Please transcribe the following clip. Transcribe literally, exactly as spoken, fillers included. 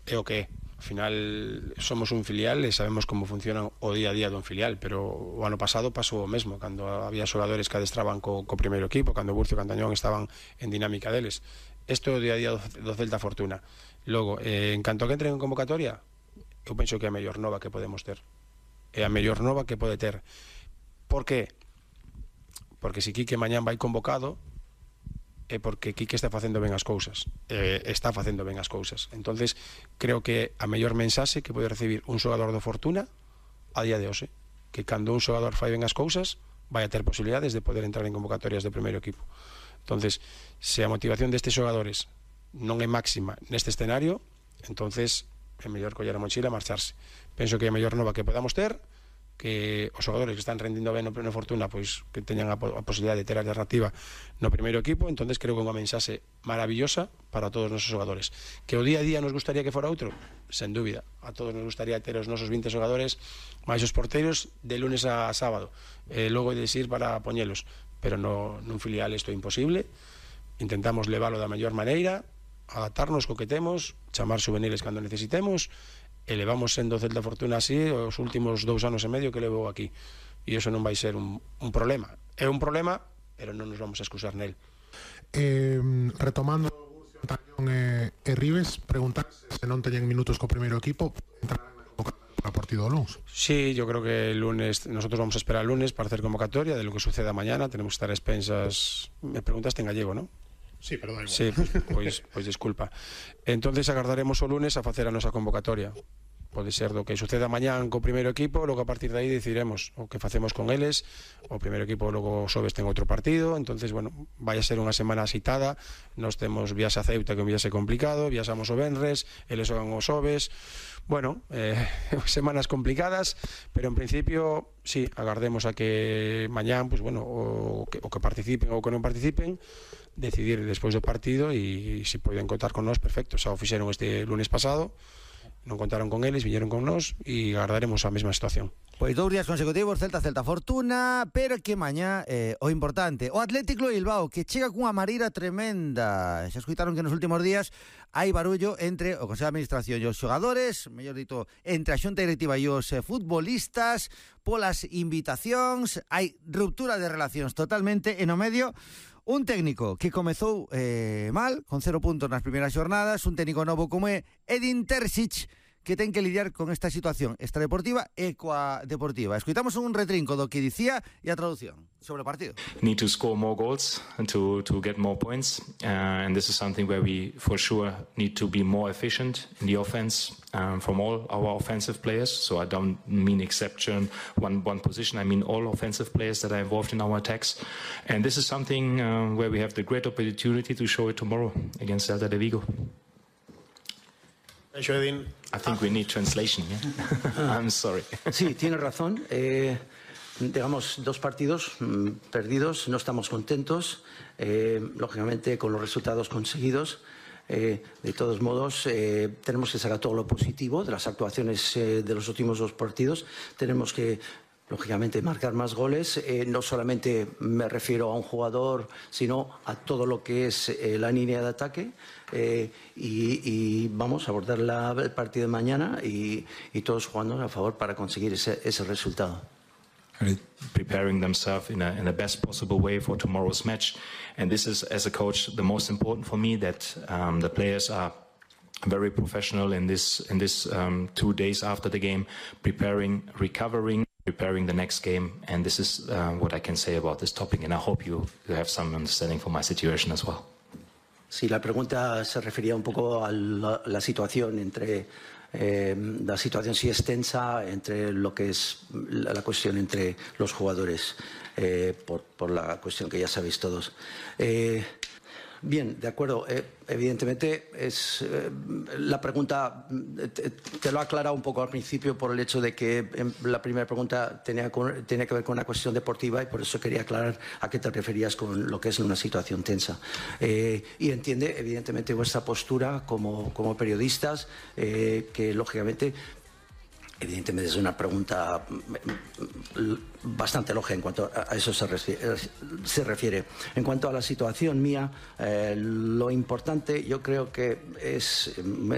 é o que é. Al final somos un filial e sabemos como funciona o día a día dun filial, pero o ano pasado pasou o mesmo, cando había xogadores que adestraban co, co primeiro equipo, cando Burcio e Cantañón estaban en dinámica deles. Isto é o día a día do, do Celta Fortuna. Logo, eh, en canto a que entren en convocatoria, eu penso que é a mellor nova que podemos ter. É a mellor nova que pode ter. Por que? Porque se Quique mañán vai convocado é porque Quique está facendo ben as cousas, eh, está facendo ben as cousas. Entonces creo que a mellor mensaxe que pode recibir un xogador do Fortuna a día de hoxe, que cando un xogador fai ben as cousas vai a ter posibilidades de poder entrar en convocatorias do primeiro equipo. Entonces, se a motivación destes xogadores non é máxima neste escenario, entonces é mellor coller a mochila e marcharse. Penso que é a mellor nova que podamos ter, que os xogadores que están rendindo ben no pleno Fortuna pois que teñan a, a posibilidade de ter alternativa no primeiro equipo. Entonces creo que é unha mensaxe maravillosa para todos os nosos xogadores. Que o día a día nos gustaría que fora outro, sen dúbida, a todos nos gustaría ter os nosos vinte xogadores máis os porteros de lunes a sábado, e logo de ir para poñelos, pero no, nun filial isto é imposible. Intentamos leválo da mellor maneira, adaptarnos co que temos, chamar juveniles cando necesitemos, e levamos sendo Celta Fortuna así os últimos dous anos e medio que levou aquí, e iso non vai ser un, un problema. É un problema, pero non nos vamos a excusar nel. Eh, retomando Tañón e, e Ribes, preguntarse se non teñen minutos co primeiro equipo entrarán na convocatoria para o partido do lunes. Sí, yo creo que el lunes, nosotros vamos a esperar el lunes para hacer convocatoria de lo que suceda mañana. Tenemos que estar a expensas. Me preguntaste en gallego, ¿no? Sí, pero da igual. Sí, pues, pues, pues disculpa. Entonces agardaremos o lunes a facer a nosa convocatoria. Pode ser do que suceda mañán co primeiro equipo, logo a partir de aí decidiremos o que facemos con eles. O primeiro equipo logo xoves ten outro partido, entonces, bueno, vai a ser unha semana axitada. Nós temos viaxe a Ceuta, que é un viaxe complicado, viaxamos o venres, eles xogan os xoves. Bueno, eh, semanas complicadas, pero en principio, sí, agardemos a que mañán, pues bueno, o que, o que participen ou que non participen, decidir despois do partido, e se poden contar con nós, perfecto. Xa o fixeron este lunes pasado, non contaron con eles, viñeron con nós, e agardaremos a mesma situación. Pois dous días consecutivos, Celta, Celta Fortuna, pero que mañá eh, o importante, o Atlético de Bilbao, que chega cunha mareira tremenda. Xa escuitaron que nos últimos días hai barullo entre o Consello de Administración e os xogadores, mellor dito, entre a Xunta Directiva e os eh, futbolistas, polas invitacións, hai ruptura de relacións totalmente, e no medio un técnico que comezou eh, mal, con cero puntos nas primeiras xornadas, un técnico novo como é Edin Terzic, que ten que lidiar con esta situación extradeportiva e coa deportiva. Escoitamos un retrinco do que dicía e a traducción sobre o partido. Need to score more goals and to, to get more points. Uh, and this is something where we for sure need to be more efficient in the offense um, from all our offensive players. So I don't mean exception one, one position. I mean all offensive players that are involved in our attacks. And this is something uh, where we have the great opportunity to show it tomorrow against Celta de Vigo. I think we need translation, yeah? I'm sorry. Sí, tiene razón. Eh, digamos, dos partidos mmm, perdidos, no estamos contentos, eh, lógicamente, con los resultados conseguidos. Eh, de todos modos, eh, tenemos que sacar todo lo positivo de las actuaciones eh, de los últimos dos partidos. Tenemos que, lógicamente, marcar más goles. Eh, no solamente me refiero a un jugador, sino a todo lo que es eh, la línea de ataque. Eh, y, y vamos a abordar la, el partido de mañana y, y todos jugando a favor para conseguir ese, ese resultado. Preparing themselves in a, in the best possible way for tomorrow's match. And this is, as a coach, the most important for me, that um, the players are very professional in this, in this um, two days after the game, preparing, recovering, preparing the next game. And this is uh, what I can say about this topic. And I hope you, you have some understanding for my situation as well. Sí, la pregunta se refería un poco a la, la situación entre eh, la situación sí es tensa entre lo que es la, la cuestión entre los jugadores eh, por, por la cuestión que ya sabéis todos. Eh, Bien, de acuerdo. Eh, evidentemente, es eh, la pregunta te, te lo he aclarado un poco al principio por el hecho de que eh, la primera pregunta tenía, con, tenía que ver con una cuestión deportiva y por eso quería aclarar a qué te referías con lo que es una situación tensa. Eh, y entiende, evidentemente, vuestra postura como, como periodistas, eh, que lógicamente... Evidentemente es una pregunta bastante lógica en cuanto a eso se refiere. Se refiere. En cuanto a la situación mía, eh, lo importante yo creo que es...